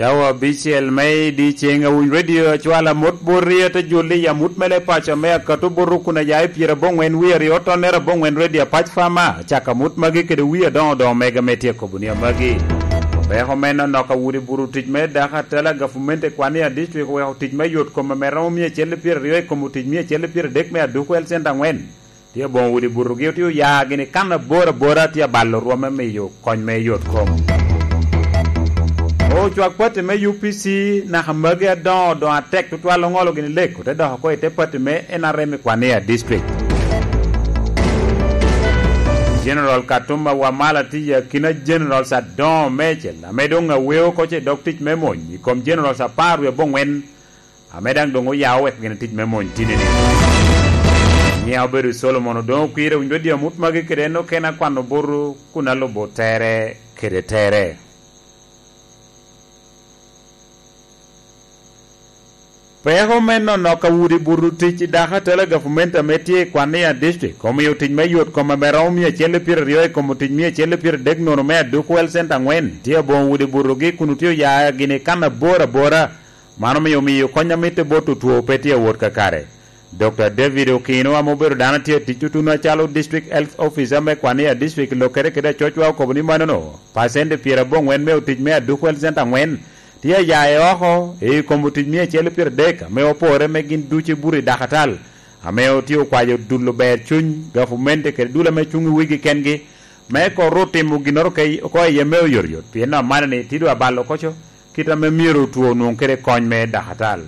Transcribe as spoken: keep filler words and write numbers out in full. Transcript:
Cawa bicel me di ceng awiny radio acwala mot boti ate joli ya mut mele paco me akato boto kun aya i pyera abongwen wiye aryo tonere abongwen radio apac fama acaka mut magi kede wiye adongo dongo mega me tye kobunia magi. Peko me nonok awudi buru tic me dako atela gafumente Kwania district oweko tic me yot kome me romo mia acel pyera aryo i kom otic mia acel pyera adek me aduku health center angwen. Tye bongo wudi burugi otye oya gini kan aboro abora tye abalo rwome miyo kony me yot kom. Ocwak pati me U P C naka magi adongo dongo atek tutwal ongolo gini lek ote doko ko ite pati me N R M i Kwania district. General Katumba Wamala tye i akina Generals adongo mecel ame dong aweo koce dog tic me mony i kom Generals apar wiye abongwen ame dang dong oyawo wek gini tic me mony tinini. Nyia obedo Solomon odong okwire winjo radio mut magi kede en okene akwano boru kun alubo tere kede tere. Peko me nonok awudi buru tic i dako atela gavumenta me tye i Kwania district omiyo tic me yot kome me romo mia acel pyera aryo i kom otic mia acel pyera adek nono me aduku health center angwen tye abongo wudi burugi kun otye oya gini kan aboro abora man omiyo miyo kony amite bot otwo pe tye awot kakare. Doctor David Okino ame obedo dano tye tic tutunu acalo District Health Officer me Kwania district lokere kede acocwa okobo ni manono pacente pyera abongwen me otic me aduku health center angwen tye aya i oko i kom otic mia acel pyera adek ame opore me gin ducu buru i dakatal ame otye okwayo dulo ber cuny gafumente kede dul ame cung i wigi kengi me kor otimo ginoro ko iye me oyotoyot pien no amaneni tido abalo koco kita me myero otwo onwong kede kony me dakatal.